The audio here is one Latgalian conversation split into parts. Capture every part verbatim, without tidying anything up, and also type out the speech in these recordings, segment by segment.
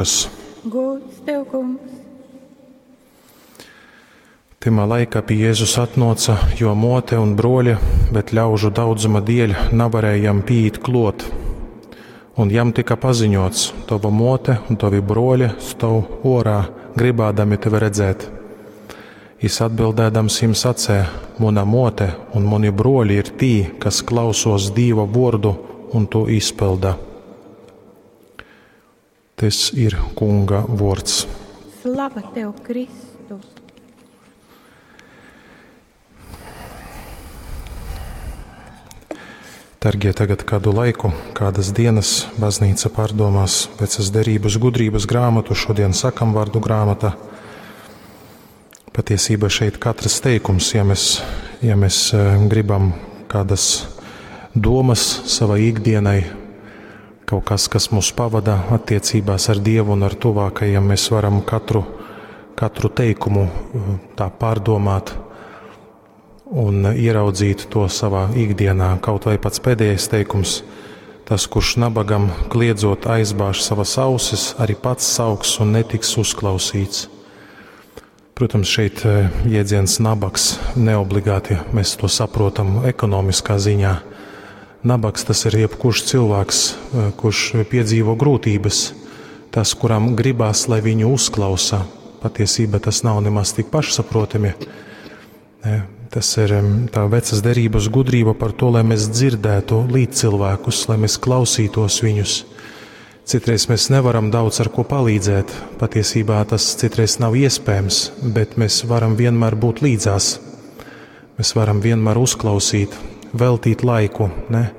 Gūds tev, Kungs! Tymā laikā pie Jēzus atnōca jō mōte un brōļi, bet ļaužu daudzuma dēļ navarēja jam piīt klōt. Un jam tika paziņots: Tova mōte un tovi brōļi stōv ōrā, gribādami tevi redzēt. Jis atbildēdams jim sacēja: Muna mōte un muni brōļi ir tī, kas klausos Dīva vōrdu un tū izpylda. Tys ir Kunga vōrds. Slava tev, Kristu! Dargie, tagad kādu laiku, kādas dienas baznīca pārdomās vecas derības gudrības grāmatu, šodien sakam vārdu grāmata. Patiesībā šeit katrs teikums, ja mēs, ja mēs eh, gribam kādas domas savai ikdienai, kaut kas, kas mūs pavada attiecībās ar Dievu un ar tuvākajiem, mēs varam katru, katru teikumu eh, tā pārdomāt un ieraudzīt to savā ikdienā. Kaut vai pats pēdējais teikums, tas, kurš nabagam kliedzot aizbāž savas ausis, arī pats sauks un netiks uzklausīts. Protams, šeit eh, jēdziens nabaks neobligāti mēs to saprotam ekonomiskā ziņā. Nabaks tas ir jebkurš cilvēks, eh, kurš piedzīvo grūtības, tas, kuram gribās, lai viņu uzklausa. Patiesībā tas nav nemaz tik pašsaprotami. Ne, tas ir tā vecas derības gudrība par to, lai mēs dzirdētu līdzcilvēkus, lai mēs klausītos viņus. Citreiz mēs nevaram daudz ar ko palīdzēt. Patiesībā tas citreiz nav iespējams, bet mēs varam vienmēr būt līdzās. Mēs varam vienmēr uzklausīt, veltīt laiku. Ne?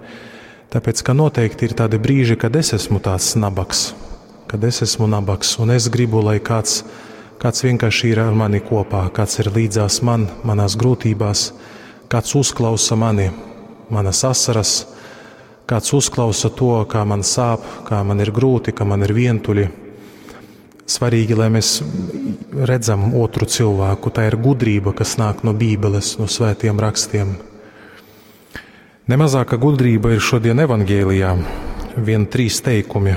Tāpēc, ka noteikti ir tādi brīži, kad es esmu tāds nabaks, kad es esmu nabaks, un es gribu, lai kāds, kāds vienkārši ir ar mani kopā, kāds ir līdzās man, manās grūtībās, kāds uzklausa mani, manas asaras, kāds uzklausa to, kā man sāp, kā man ir grūti, ka man ir vientuļi. Svarīgi, lai mēs redzam otru cilvēku. Tā ir gudrība, kas nāk no Bībeles, no svētiem rakstiem. Nemazāka gudrība ir šodien evangēlijā. Vien trīs teikumi,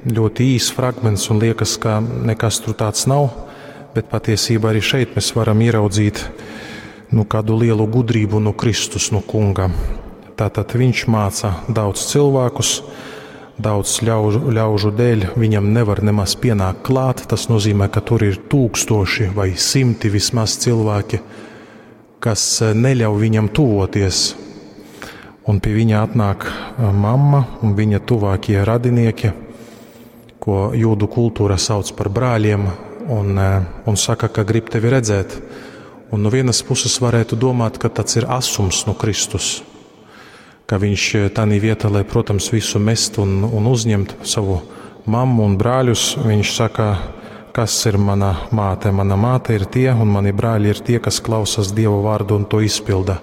ļoti īs fragments un liekas, ka nekas tur tāds nav, bet patiesībā arī šeit mēs varam ieraudzīt nu, kādu lielu gudrību no Kristus, no Kunga. Tātad viņš māca daudz cilvēkus, daudz ļaužu, ļaužu dēļ viņam nevar nemaz pienākt klāt. Tas nozīmē, ka tur ir tūkstoši vai simti vismaz cilvēki, kas neļauj viņam tuvoties. Un pie viņa atnāk mamma un viņa tuvākie radinieki, ko jūdu kultūra sauc par brāļiem, un, un saka, ka grib tevi redzēt. Un no vienas puses varētu domāt, ka tas ir asums no Kristus, ka viņš tanī vietā, lai, protams, visu mest un, un uzņemt savu mammu un brāļus, viņš saka, kas ir mana māte? Mana māte ir tie, un mani brāļi ir tie, kas klausās Dieva vārdu un to izpilda.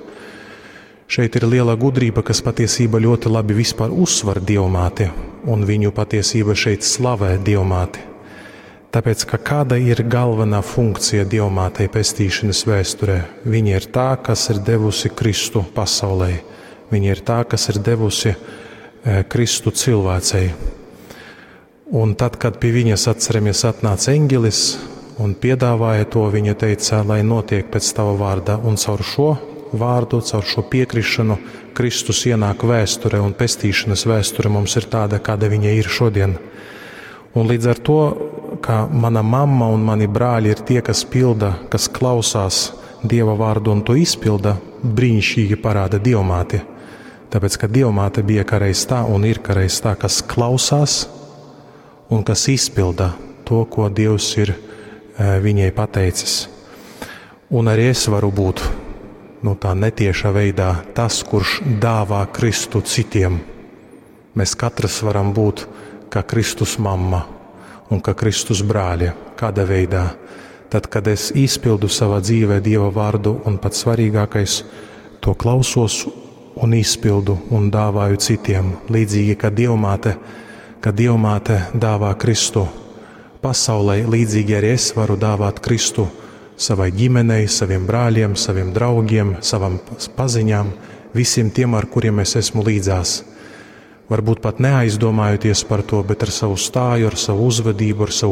Šeit ir liela gudrība, kas patiesībā ļoti labi vispār uzsver Dievmāti, un viņu patiesība šeit slavē Dievmāti. Tāpēc, ka kāda ir galvenā funkcija Dievmātei pestīšanas vēsturē? Viņa ir tā, kas ir devusi Kristu pasaulē. Viņa ir tā, kas ir devusi Kristu cilvēcei. Un tad, kad pie viņas, atceramies, atnāca eņģelis un piedāvāja to, viņa teica, lai notiek pēc tava vārda, un caur šo vārdu, caur šo piekrišanu Kristus ienāk vēsturē, un pestīšanas vēsture mums ir tāda, kāda viņa ir šodien. Un līdz ar to, ka mana mamma un mani brāļi ir tie, kas pilda, kas klausās Dieva vārdu un to izpilda, brīnišķīgi parāda Dievmāti. Tāpēc, ka Dievmāte bija kādreiz tā un ir kādreiz tā, kas klausās un kas izpilda to, ko Dievs ir viņai pateicis. Un arī es varu būt, nu, tā netiešā veidā tas, kurš dāvā Kristu citiem. Mēs katrs varam būt kā Kristus mamma un kā Kristus brāļi. Kādā veidā? Tad, kad es izpildu savā dzīvē Dieva vārdu un pats svarīgākais, to klausos un izpildu un dāvāju citiem. Līdzīgi, kā Dievmāte, kad Dievmāte dāvā Kristu pasaulē, līdzīgi arī es varu dāvāt Kristu savai ģimenei, saviem brāļiem, saviem draugiem, savam paziņām, visiem tiem, ar kuriem es esmu līdzās. Varbūt pat neaizdomājoties par to, bet ar savu stāju, ar savu uzvedību, ar savu